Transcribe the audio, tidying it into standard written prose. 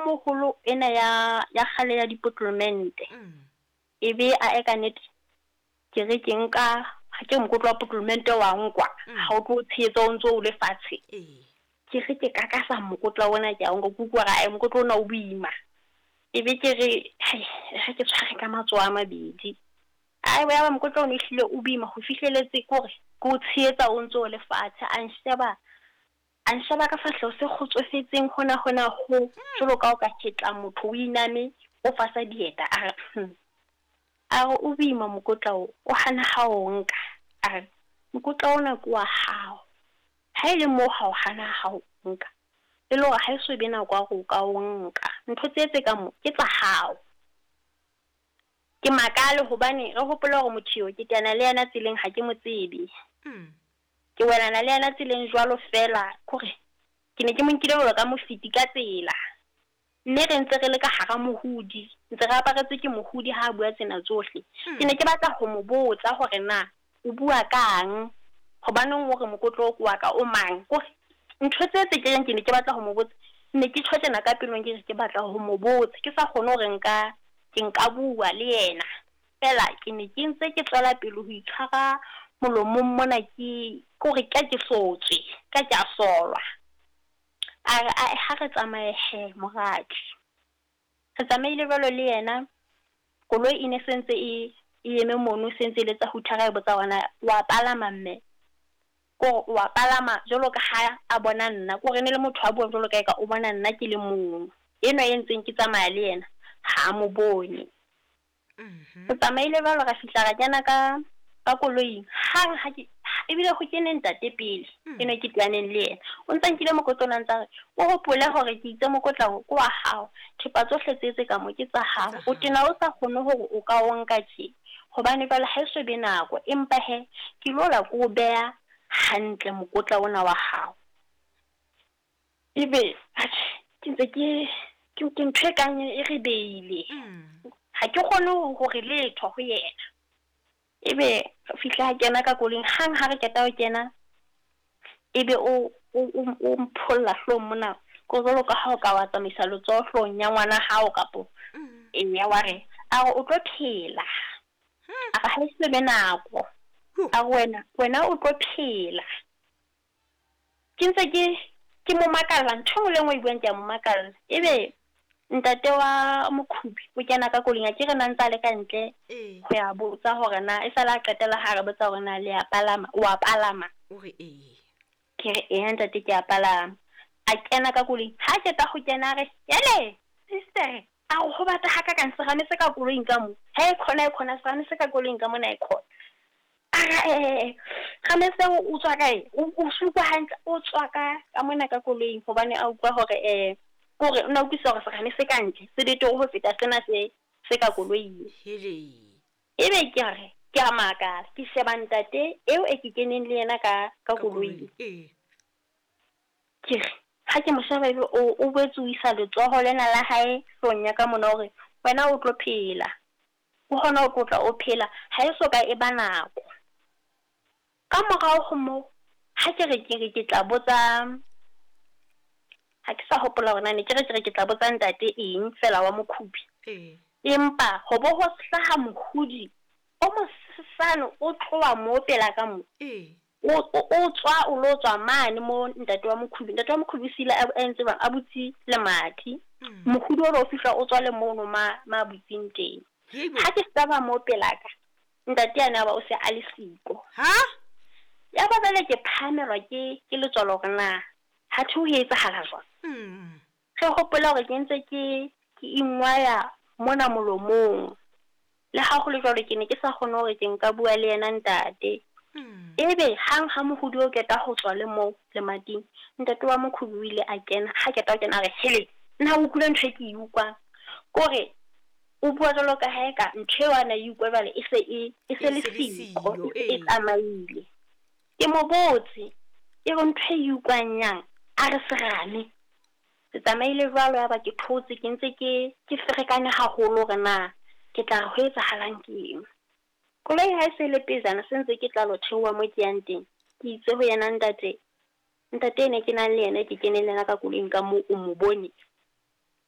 moholo ena ya ya kgale ya dipotolomente. E be a eka nnete ke re ke nka ha ke mokotla wa potlolomente wa nkwa ha o tlo tshehetsa o ntso o le fatshe. Ke re ke kakasa mokotla ona ke a o nka, ke utlwa hore ae mokotla ona o boima. E be ke re hai ha ke tshware ka matsoho a mabedi. Ae ya ba mokotla ono ehlile o boima ho fihleletse kore ke o tshehetsa o ntso o le fatshe. A nsheba a nsheba ka fahleho se kgotsofetseng hona hona ho jwalo ka o ka hetla motho o iname o fasa dieta a re A re, O boima mokotla o, o hana ha o nka. A re, Mokotla ona ke wa hao. Ha e le moo ha o hana ha o nka, e le hore ha e so be nako ya hore o ka o nka. Ntho tse tse ka mo ke tsa hao. Ke makale hobane re hopole hore motho eo ke teana le yena tseleng ha ke mo tsebe. Ke welana le yena tseleng jwalo feela, kore ke ne ke mo nkile jwalo ka mofeti ka tsela. Mme re ntse re le ka hara mohudi, ntse re aparetswe ke mohudi ha a bua tsena tsohle. Ke ne ke batla ho mo botsa hore na o bua kang, hobaneng o re mokotla o ke wa ka o mang. Kore ntho tse tse ke reng ke ne ke batla ho mo botsa, ne ke tjho tjena ka pelong ke re ke batla ho mo botsa, ke sa kgone hore nka ke nka bua le yena. Feela ke ne ke ntse ke tswela pele ho itshwara molomong mona ke kore ka ke sotswe, ka ke a solwa. A re, Ae, ha re tsamaye he, moradi. Re tsamaile jwalo le yena, koloi e ne se ntse e, e eme mono, se ntse e letsa huthara e botsa hore na wa palama mme. Kore o wa palama jwalo ka ha a bona nna, kore e ne le motho a buang jwalo ka eka o bona nna ke le mong. Enwa e ntseng ke tsamaya le yena, ha a mo bone. Re tsamaile jwalo ra fihla ra kena ka ka koloing. Hang ha ke ebile ho kene ntate pele, enwa ke teaneng le yena. O ntsa nkile mokotla ona ntsa re, o hopole hore ke itse mokotla o ke wa hao. Thepa tsohle tse tse ka mo ke tsa hao. O tena o sa kgone hore o ka o nka tje. Hobane jwale ha e so be nako, empa he ke lo la ke o beha hantle mokotla ona wa hao. Ebe atjhe ke ntse ke ke ke ntho e kang e re beile. Ha ke kgone hore letho ho yena. Ebe re fihla a kena ka koloing hang ha re qeta ho kena, ebe o o o mpholla hloohong mona ko jwalo ka ha o ka wa tsamaisa letsoho hloohong ya ngwana hao kapo eya wa re a re o tlo phela. A re ha e se be nako. A re wena wena o tlo phela. Ke ntse ke ke mo makalla ntho e nngwe le e nngwe e buang ke a mo makalla. Ebe ntate wa Mokhubi o kena ka koloing akere na ntse a le ka ntle ho ya botsa hore na e sale a qetela ha re botsa hore na le a palama, o a palama? O re ee. Ke re eya ntate ke a palama. A kena ka koloing, ha qeta ho kena a re, hele sister a re ho bata hakakang serame se ka koloing ka mo. He khona e khona serame se ka koloing ka mona e khona. A re ee serame seo o tswa kae? O se utlwa hantle o tswa ka ka mona ka koloing hobane a utlwa hore kore o na utlwisisa hore serame se ka ntle se betere ho feta sena se se ka koloing. Hele. Ebe ke re ke a makala ke sheba ntate eo e ke keneng le yena ka ka koloing. Ee. Ke re ha ke mo sheba ebe o o boetse o isa letsoho lena la hae hloohong ya ka mona hore wena o tlo phela. O kgona ho tlotla o phela ha e so ka e ba nako. Ka morao ho moo ha ke re ke re ke tla botsa ha ke sa hopola hore na ne ke re ke re ke tla botsa ntate eng feela wa Mokhubi. Empa ho bo ho hlaha mohudi o mosesane o tloha moo pela ka mo. O o tswa o lo tswa mane mo ntate wa Mokhubi. Ntate wa Mokhubi o siile a entse jwang? A butse lemati. Mohudi o lo fihla o tswa le mono ma ma butseng teng. Ha ke sheba mo pelaka, ntate yane ya ba o se a le siko. Ha? Ya ba jwale ke phahamelwa ke ke letswalo hore na hathe ho etsahala jwang. Re hopole hore ke ntse ke ke ingwaya mona molomong. Le ha ho le jwalo ke ne ke sa kgone hore ke nka bua le yena ntate. Ebe hang ha mohudi o qeta ho tswa le moo lemating, ntate wa Mokhubi o ile a kena. Ha qeta ho kena a re, hele, nna o utlwile ntho e ke e utlwang. Kore o bua jwalo ka ha eka ntho eo a na e utlwa jwale e se e e se le siko, e se e tsamaile. Ke mo botse, ke re ntho e utlwang yang? A re serame. Ke tsamaile jwalo yaba ke thotse ke ntse ke ke ferekane haholo hore na ke tla re ho etsahalang ke eng. Koloi ha e se le pejana se ntse ke tla lo theoha mo ke yang teng. Ke itse ho yena ntate, ntate ene ke nang le yena ke kene le yena ka koloing ka moo o mo bone.